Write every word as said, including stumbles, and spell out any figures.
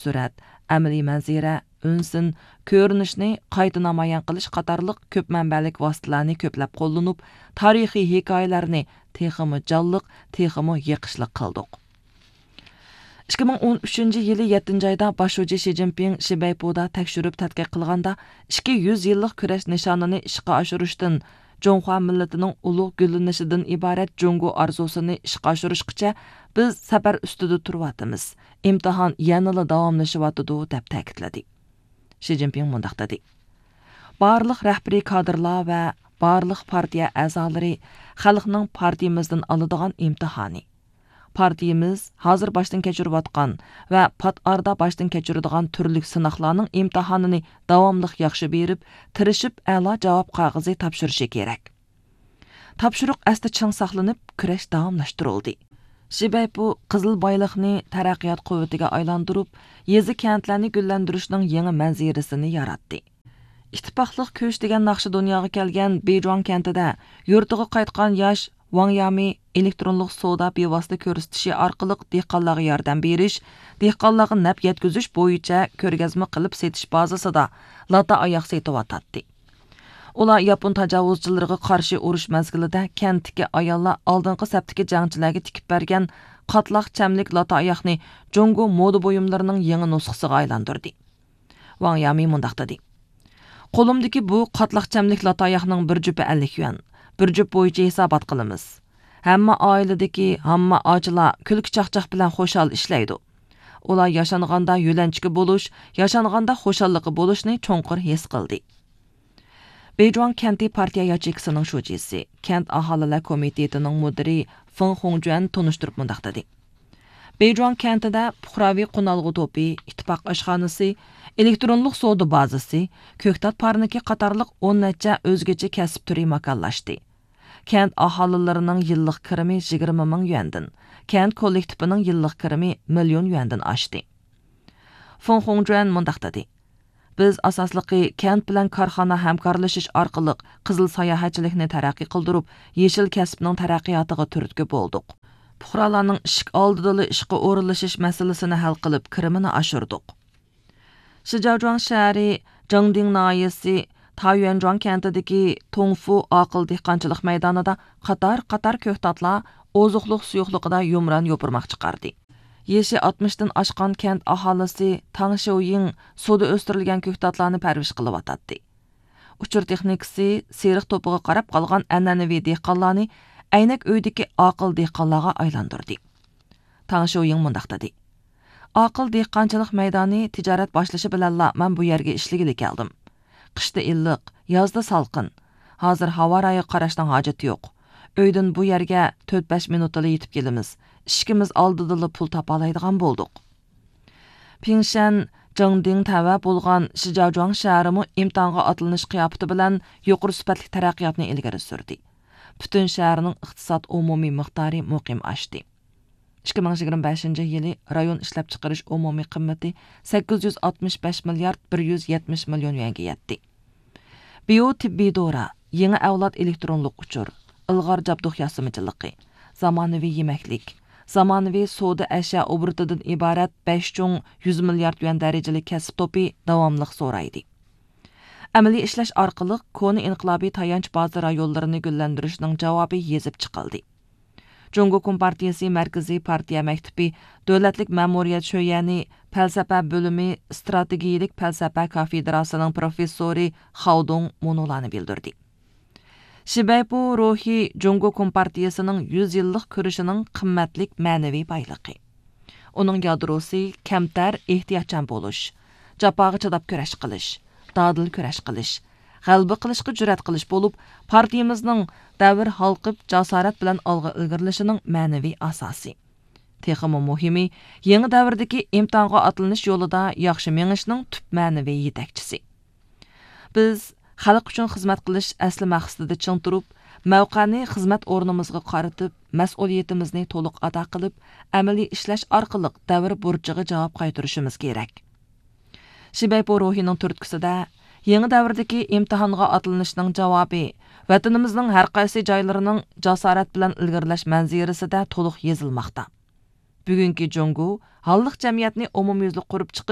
سۈرەت، ئەمەلىي مەنزىرە، ئۈنسىن، كۆرۈنۈشنى قايتا نامايان قىلىش قاتارلىق كۆپ مەنبەلىك ۋاسىتىلەرنى كۆپلەپ قوللىنىپ، تارىخىي ھېكايىلەرنى تېخىمۇ جانلىق، تېخىمۇ يېقىشلىق قىلدۇق. ئىككى مىڭ ئون ئۈچىنچى يىلى يەتتىنچى ئايدا باش شۇجى شى جىنپىڭ شىبەيپۇدا تەكشۈرۈپ تەتقىق قىلغاندا، ئىككى يۈز يىللىق كۈرەش نىشانىنى ئىشقا ئاشۇرۇشتىن، جۇڭخۇا مىللىتىنىڭ ئۇلۇغ گۈللىنىشىدىن ئىبارەت جۇڭگو ئارزۇسىنى ئىشقا ئاشۇرۇشقىچە بىز سەپەر ئۈستىدە تۇرۇۋاتىمىز. ئىمتىھان يەنىلا داۋاملىشىۋاتىدۇ، دەپ تەكىتلىدى. شى جىنپىڭ مۇنداق دېدى: بارلىق رەھبىرىي كادىرلار ۋە بارلىق پارتىيە ئەزالىرى خەلقنىڭ پارتىيىمىزدىن ئالىدىغان ئىمتىھانى. پارتىيىمىز ھازىر باشتىن كەچۈرۈۋاتقان ۋە پات ئارىدا باشتىن كەچۈرىدىغان تۈرلۈك سىناقلارنىڭ ئىمتىھانىنى داۋاملىق ياخشى بېرىپ، تىرىشىپ ئەلا جاۋاب قەغىزى تاپشۇرۇشى كېرەك. تاپشۇرۇق ئەستە چىڭ ساقلىنىپ، كۈرەش داۋاملاشتۇرۇلدى. شىبەيپۇ قىزىل بايلىقنى تەرەققىيات قۇۋۋىتىگە ئايلاندۇرۇپ، يېزا، كەنتلەرنى گۈللەندۈرۈشنىڭ يېڭى مەنزىرىسىنى ياراتتى. ئىتتىپاقلىق كۈچ دېگەن ناخشا دۇنياغا كەلگەن بېيجۇاڭ كەنتىدە يۇرتىغا قايتقان ياش ۋاڭ يامى ئېلېكترونلۇق سودا بىۋاسىتە كۆرسىتىشى ئارقىلىق دېھقانلارغا ياردەم بېرىش، دېھقانلارغا نەپ يەتكۈزۈش بويىچە كۆرگەزمە قىلىپ سېتىش بازىسىدا لاتا ئاياق سېتىۋاتاتتى. ئۇلار ياپون تاجاۋۇزچىلىرىغا قارشى ئۇرۇش مەزگىلىدە كەنتتىكى ئاياللار ئالدىنقى سەپتىكى جەڭچىلەرگە تىكىپ بەرگەن قاتلاق چەملىك لاتا ئاياقنى جۇڭگو مودا بۇيۇملىرىنىڭ يېڭى نۇسخىسىغا ئايلاندۇردى. ۋاڭ يامى مۇنداق دېدى: قولۇمدىكى بۇ قاتلاق چەملىك لاتا ئاياقنىڭ بىر جۈپى ئەللىك يۈەن. بىر جۈپ بويىچە ھېسابات قىلىمىز. ھەممە ئائىلىدىكى ھامما ئاچىلار كۈلكە چاقچاق بىلەن خۇشال ئىشلەيدۇ. ئۇلار ياشانغاندا يۆلەنچۈكى بولۇش، ياشانغاندا خۇشاللىقى بولۇشنى چوڭقۇر ھېس قىلدى. بېيجۇاڭ كەنتى پارتىيە ياچېيكىسىنىڭ شۇجىسى، كەنت ئاھالىلەر كومىتېتىنىڭ مۇدىرى فېڭ خۇڭجۈەن تونۇشتۇرۇپ مۇنداق دېدى: بېيجۇاڭ كەنتىدە پۇقراۋى قونالغۇ توپى، ئىتتىپاق ئاشخانىسى، ئېلېكترونلۇق سودا بازىسى، كۆكتات پارنىكى قاتارلىق ئون نەچچە ئۆزگىچە كەسىپ تۈرى ماكانلاشتى. كەنت ئاھالىلىرىنىڭ يىللىق كىرىمى يىگىرمە مىڭ يۈەندىن، كەنت كوللېكتىپىنىڭ يىللىق كىرىمى مىليون يۈەندىن ئاشتى. فېڭ خۇڭجۈەن مۇنداق دېدى: بىز ئاساسلىقى كەنت بىلەن كارخانا ھەمكارلىشىش ئارقىلىق قىزىل ساياھەتچىلىكنى تەرەققىي قىلدۇرۇپ، يېشىل كەسىپنىڭ تەرەققىياتىغا تۈرتكە بولدۇق. پۇقرالارنىڭ ئىشىك ئالدىدىلا ئىشقا ئورۇنلىشىش مەسىلىسىنى ھەل قىلىپ، كىرىمىنى ئاشۇردۇق. شىجاۋجۇاڭ شەھىرى جېڭدىڭ ناھىيەسى تايۈەنجۇاڭ كەنتىدىكى توڭفۇ ئاقىل دېھقانچىلىق مەيدانىدا قاتار-قاتار كۆكتاتلار ئوزۇقلۇق سۇيۇقلۇقىدا يۇمران يوپۇرماق چىقاردى. يېشى ئاتمىشتىن ئاشقان كەنت ئاھالىسى تاڭ شيۇيىڭ سۇدا ئۆستۈرۈلگەن كۆكتاتلارنى پەرۋىش قىلىۋاتاتتى. ئۇچۇر تېخنىكىسى سېرىق توپىغا قاراپ قالغان ئەنئەنىۋى دېھقانلارنى ئەينەك ئۆيدىكى ئاقىل دېھقانلارغا ئايلاندۇردى. تاڭ شيۇيىڭ مۇنداق دېدى: ئاقىل دېھقانچىلىق مەيدانى تىجارەت باشلىشى بىلەنلا مەن بۇ يەرگە ئىشلىگىلى كەلدىم. قىشتا ئىللىق، يازدا سالقىن. ھازىر ھاۋا رايىغا قاراشنىڭ ھاجىتى يوق. ئۆيدىن بۇ يەرگە تۆت بەش مىنۇتتىلا يېتىپ كېلىمىز. ئىشىكىمىز ئالدىدىلا پۇل تاپالايدىغان بولدۇق. پىڭشەن، جېڭدىڭ تەۋە بولغان شىجاۋجۇاڭ شەھىرىمۇ ئىمتىھانغا ئاتلىنىش قىياپىتى بىلەن يۇقىرى سۈپەتلىك تەرەققىياتنى ئىلگىرى سۈردى. پۈتۈن شەھەرنىڭ ئىقتىساد ئومۇمىي مىقدارى مۇقىم ئاشتى. ئىككى مىڭ يىگىرمە بەشىنچى يىلى رايون ئىشلەپچىقىرىش ئومۇمىي قىممىتى سەككىز يۈز ئاتمىش بەش مىليارد بىر يۈز يەتمىش مىليون يۈەنگە يەتتى. بىيو تېببىي دورا، يېڭى ئەۋلاد ئېلېكترونلۇق ئۇچۇر، ئىلغار جابدۇق ياسىمىچىلىقى، زامانىۋى يېمەكلىك، زامانىۋى سودا ئەشيا ئوبوروتىدىن ئىبارەت بەش چوڭ يۈز مىليارد يۈەن دەرىجىلىك كەسىپ توپى داۋاملىق زورايدى. ئەمەلىي ئىشلەش ئارقىلىق كونا ئىنقىلابىي تايانچ بازا رايونلىرىنى گۈللەندۈرۈشنىڭ جاۋابى يېزىپ چىقىلدى. جۇڭگو كومپارتىيىسى مەركىزىي پارتىيە مەكتىپى دۆلەتلىك مەمۇرىيەت شۆيەنى پەلسەپە بۆلۈمى ئىستراتېگىيىلىك پەلسەپە كافېدراسىنىڭ پروفېسسورى خاۋ دۇڭ مۇنۇلارنى بىلدۈردى: شىبەيپۇ روھى جۇڭگو كومپارتىيىسىنىڭ يۈز يىللىق كۈرىشىنىڭ قىممەتلىك مەنىۋى بايلىقى. ئۇنىڭ يادروسى كەمتەر، ئېھتىياتچان بولۇش، جاپاغا چىداپ كۈرەش قىلىش، دادىل كۈرەش قىلىش، غەلىبە قىلىشقا جۈرئەت قىلىش بولۇپ، پارتىيىمىزنىڭ دەۋر ھالقىپ، جاسارەت بىلەن ئالغا ئىلگىرىلىشىنىڭ مەنىۋى ئاساسى. تېخىمۇ مۇھىمى، يېڭى دەۋردىكى ئىمتىھانغا ئاتلىنىش يولىدا ياخشى مېڭىشنىڭ تۈپ مەنىۋى يېتەكچىسى. بىز خەلق ئۈچۈن خىزمەت قىلىش ئەسلى مەقسىتىدە چىڭ تۇرۇپ، مەۋقەنى خىزمەت ئورنىمىزغا قارىتىپ، مەسئۇلىيىتىمىزنى تولۇق ئادا قىلىپ، ئەمەلىي ئىشلەش ئارقىلىق دەۋر بۇرچىغا جاۋاب قايتۇرۇشىمىز كېرەك. شىبەيپو روھىنىڭ تۈرتكىسىدە، يېڭى دەۋردىكى ئىمتىھانغا ئاتلىنىشنىڭ جاۋابى ۋەتىنىمىزنىڭ ھەر قايسى جايلىرىنىڭ جاسارەت بىلەن ئىلگىرىلەش مەنزىرىسىدە تولۇق يېزىلماقتا. بۈگۈنكى جۇڭگو ھاللىق جەمئىيەتنى ئومۇميۈزلۈك قۇرۇپ چىقىپ،